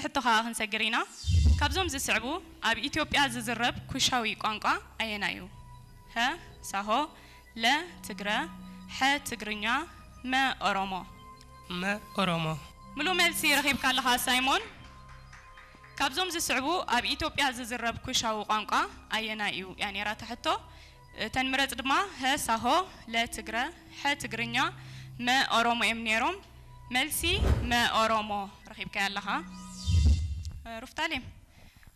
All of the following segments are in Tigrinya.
ሕቶ ከዓ ክንሰግር ኢና። ካብዞም ዝስዕቡ ኣብ ኢትዮጵያ ዝዝረብ ኩሻዊ ቋንቋ ኣየናይ እዩ? ሀ ሳሆ፣ ለ ትግረ፣ ሐ ትግርኛ፣ መ ኦሮሞ። መ ኦሮሞ። ምሉእ መልሲ ረኺብካ ኣለኻ ሳይሞን። ካብዞም ዝስዕቡ ኣብ ኢትዮጵያ ዝዝረብ ኩሻዊ ቋንቋ ኣየናይ እዩ? እያ ነይራ እታ ሕቶ። እተን ምረጽ ድማ ሀ ሳሆ፣ ለ ትግረ፣ ሐ ትግርኛ፣ መ ኦሮሞ እዮም ነይሮም። መልሲ መ ኦሮሞ ረኺብካያ ኣለኻ። ሩፍታሌም፣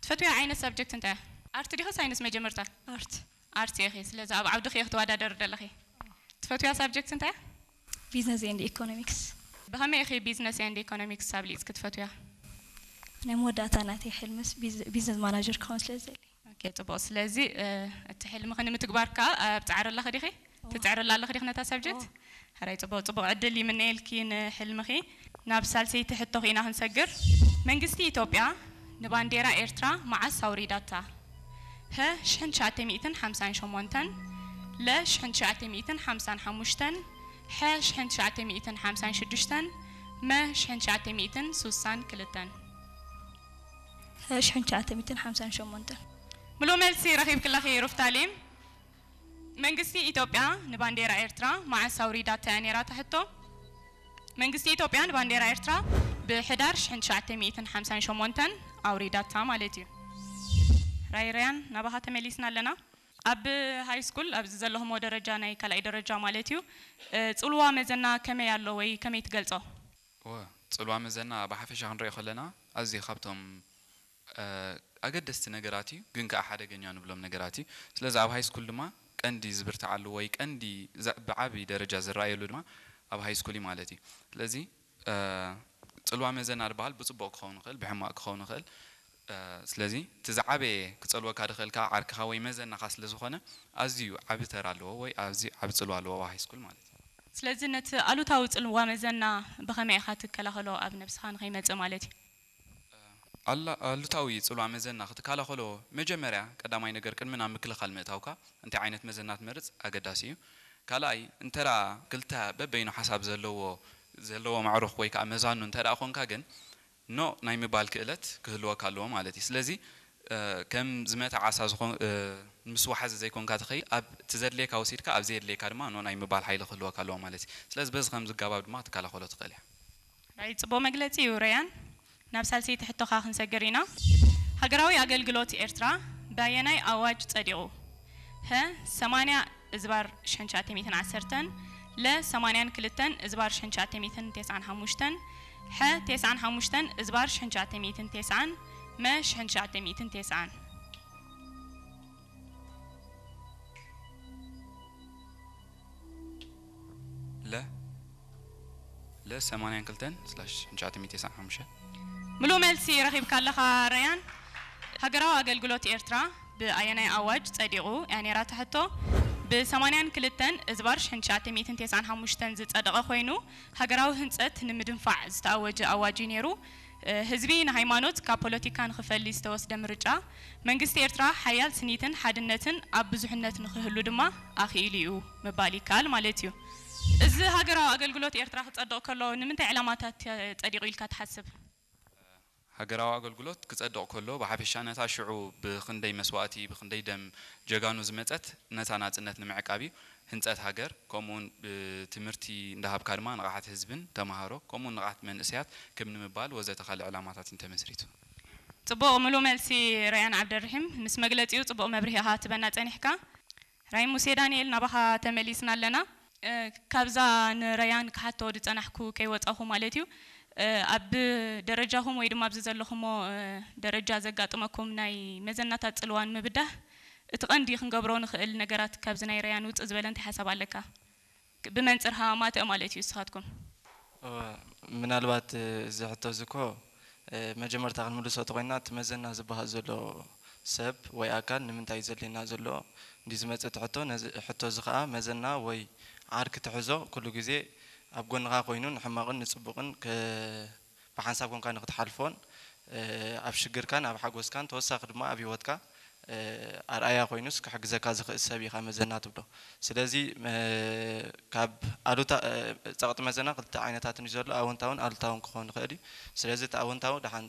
ትፈትውያ ዓይነት ሳብጀክት እንታይ እያ? ኣርት ዲኺ ሳይንስ መጀመርታ? ኣርት። ኣርት ኢኺ። ስለዚ ኣብ ዓውዲ ኸ ክትወዳደሪ ደለኺ? ትፈትውያ ሳብጀክት እንታይ እያ? ቢዝነስ ኤንድ ኢኮኖሚክስ። ብኸመይ ኢኺ ቢዝነስ ኤንድ ኢኮኖሚክስ ኣብሊጽኪ ትፈትውያ? ናይ መወዳእታ ናተይ ሕልምስ ቢዝ- ቢዝነስ ማናጀር ክኸውን ስለ ዝደሊ። ኦኬ፣ ጽቡቕ። ስለዚ እ፣ እቲ ሕልምኺ ንምትግባር ከኣ ኣብ ጻዕሪ ኣለኺ ዲኺ? ትጽዕሪ ኣላ ኣለኺ ዲኺ ነታ ሳብጀክት? ሕራይ፣ ጽቡቕ፣ ጽቡቕ ዕድል ይምነየልኪ ንሕልምኺ። ናብ ሳልሰይቲ ሕቶ ኺና ክንሰግር። መንግስቲ ኢትዮጵያ ንባንዴራ ኤርትራ መዓስ ኣውሪዳታ? ሀ ሽሕን ትሽዓተ ሚእትን ሓምሳን ሸሞንተን፣ ለ ሽሕን ትሽዓተ ሚእትን ሓምሳን ሓሙሽተን፣ ሐ ሽሕን ትሽዓተ ሚእትን ሓምሳን ሽዱሽተን፣ መ ሽሕን ትሽዓተ ሚእትን ሱሳን ክልተን። ሀ ሽሕን ትሽዓተ ሚእትን ሓምሳን ሸሞንተን። ምሉእ መልሲ ረኺብኪ ኣለኺ ሩፍታሌም። መንግስቲ ኢትዮጵያ ንባንዴራ ኤርትራ መዓስ ኣውሪዳታ እያ ነይራ እታ ሕቶ? መንግስቲ ኢትዮጵያ ንባንዴራ ኤርትራ ብሕዳር ሽሕን ትሽዓተ ሚእትን ሓምሳን ሸሞንተን ኣውሪዳታ ማለት እዩ። ራይረያን ናባኻ ተመሊስና ኣለና። ኣብ ሃይ ስኩል ኣብዚ ዘለኹሞ ደረጃ ናይ ካልኣይ ደረጃ ማለት እዩ እ፣ ጽልዋ መዘና ከመይ ኣሎ ወይ ከመይ ትገልጾ? እወ፣ ጽልዋ መዘና ብሓፈሻ ክንሪኦ ከለና ኣዝዩ ካብቶም እ፣ ኣገደስቲ ነገራት እዩ፣ ግን ከኣ ሓደገኛ ንብሎም ነገራት እዩ። ስለዚ ኣብ ሃይ ስኩል ድማ ቀንዲ ዝብርትዓሉ ወይ ቀንዲ ዘ- ብዓቢ ደረጃ ዝረኣየሉ ድማ ኣብ ሃይ ስኩል እዩ ማለት እዩ። ስለዚ እ፣ ጽልዋ መዘና ዝበሃል ብጽቡቕ ክኸውን ይኽእል፣ ብሕማቕ ክኸውን ይኽእል። እ፣ ስለዚ እቲ ዝዓበየ ክጸልወካ ዝኽእል ከኣ ዓርክኻ ወይ መዘናኻ ስለ ዝኾነ ኣዝዩ ዓቢ ተራ ኣለዎ ወይ ኣዝዩ ዓቢ ጽልዋ ኣለዎ ኣብ ሃይ ስኩል ማለት እዩ። ስለዚ ነቲ ኣሉታዊ ጽልዋ መዘና ብኸመይ ኢኻ ትከላኸሎ ኣብ ነብስኻ ንኸይመጽእ ማለት እዩ? ኣላ- ኣሉታዊ ጽልዋ መዘና ክትከላኸሎ መጀመርያ ቀዳማይ ነገር ቅድሚ ናብ ምክልኻል ምእታውካ እንታይ ዓይነት መዘና ትመርጽ ኣገዳሲ እዩ። ካልኣይ እንተራ ክልተ በበይኑ ሓሳብ ዘለዎ ዘለዎ ማዕሩኽ ወይ ከዓ መዛኑ እንተ ደኣ ኾንካ ግን ኖ ናይ ምባል ክእለት ክህልወካ ኣለዎ ማለት እዩ። ስለዚ እ፣ ከም ዝመተ ዓሳ ዝኾን እ፣ ምስ ወሓዚ ዘይኮንካ ትኸይድ ኣብ እቲ ዘድልየካ ወሲድካ ኣብ ዘየድልየካ ድማ ኖ ናይ ምባል ሓይሊ ክህልወካ ኣለዎ ማለት እዩ። ስለዚ በዚ ከም ዝጋባብ ድማ ክትከላኸሎ ትኽእል እያ። ራይ ጽቡቕ መግለጺ እዩ ረያን። ናብ ሳልሰይቲ ሕቶኻ ክንሰግር ኢና። ሃገራዊ ኣገልግሎት ኤርትራ ብኣየናይ ኣዋጅ ጸዲቑ? ሀ ሰማንያ እዝባር ሽሕን ትሽዓተ ሚእትን ዓሰርተን፣ ለ ሰማንያን ክልተን እዝባር ሽሕን ትሽዓተ ሚእትን ተስዓን ሓሙሽተን፣ ሐ ተስዓን ሓሙሽተን እዝባር ሽሕን ትሽዓተ ሚእትን ተስዓን፣ መ ሽሕን ትሽዓተ ሚእትን ተስዓን። ለ ለ ሰማንያን ክልተን ስላሽ ትሽዓተ ሚእቲ ተስዓን ሓሙሽተን። ምሉእ መልሲ ረኺብካ ኣለኻ ረያን። ሃገራዊ ኣገልግሎት ኤርትራ ብኣየናይ ኣዋጅ ጸዲቑ እያ ነይራ እታ ሕቶ። ብ ሰማንያን ክልተን እዝባር ሽሕን ትሽዓተ ሚእትን ተስዓን ሓሙሽተን ዝጸደቐ ኮይኑ ሃገራዊ ህንጸት ንምድንፋዕ ዝተኣወጀ ኣዋጅ እዩ ነይሩ። እ፣ ህዝቢ ንሃይማኖት ካብ ፖለቲካ ንኽፈሊ ዝተወስደ ምርጫ መንግስቲ ኤርትራ ሓያል ስኒትን ሓድነትን ኣብ ብዙሕነት ንኽህሉ ድማ ኣኽኢሉ እዩ ምባል ይከኣል ማለት እዩ። እዚ ሃገራዊ ኣገልግሎት ኤርትራ ክጸድቕ ከሎ ንምንታይ ዕላማታት ጸዲቑ ኢልካ ትሓስብ? ሃገራዊ ኣገልግሎት ክጸድቕ ከሎ ብሓፈሻ ነታ ሽዑ ብኽንደይ መስዋእቲ ብኽንደይ ደም ጀጋኑ ዝመጸት ነታ ናጽነት ንምዕቃብ እዩ። ህንጸት ሃገር ከምኡውን ብትምህርቲ እንዳሃብካ ድማ ንቕሓት ህዝብን ተምሃሮ ከምኡውን ንቕሓት መንእሰያት ክብ ንምባል ወዘተ ካልእ ዕላማታት እንተመስሪቱ። ጽቡቕ ምሉእ መልሲ ረያን ዓብደርሒም ምስ መግለጺኡ ጽቡቕ መብርሂ ኢኻ ትበና ጸኒሕካ። ራይ ሙሴ ዳንኤል ናባኻ ተመሊስና ኣለና። እ፣ ካብዛ ንረያን ክሓቶ ዝጸናሕኩ ከይወጻኹ ማለት እዩ። እ፣ ኣብ ደረጃኹም ወይ ድማ ኣብዚ ዘለኹሞ እ፣ ደረጃ ዘጋጥመኩም ናይ መዘናታት ጽልዋን ምብዳህ እቲ ቀንዲ ክንገብሮ ንኽእል ነገራት ካብዚ ናይ ረያን ውጽእ ዝበለ እንታይ ሓሳብ ኣለካ? ብመንጽር ሃማማተእ ማለት እዩ ንስኻትኩም። ምናልባት እዚ ሕቶ እዚ እኮ መጀመርታ ክንምልሶ ተኮይና እቲ መዘና ዝበሃል ዘሎ ሰብ ወይ ኣካል ንምንታይ ዘድልየና ዘሎ እንዲ ዝመፀ እቲ ሕቶ ነዚ ሕቶ እዚ ከዓ መዘና ወይ ዓርኪ ትሕዞ ኩሉ ግዜ ኣብ ጎንኻ ኮይኑ ንሕማቕን ንፅቡቕን ብሓንሳብ ኮንካ ንክትሓልፎን ኣብ ሽግርካን ኣብ ሓጎስካን ተወሳኺ ድማ ኣብ ሂወትካ ኣርኣያ ኮይኑስ ክሕግዘካ ዝኽእል ሰብ ኢኻ መዘና ትብሎ። ስለዚ ካብ ኣሉታ ጸቕጢ መዘና ክልተ ዓይነታትን እዩ ዘሎ፣ ኣወንታውን ኣሉታውን ክኸውን ይኽእል እዩ። ስለዚ እቲ ኣወንታዊ ደሓን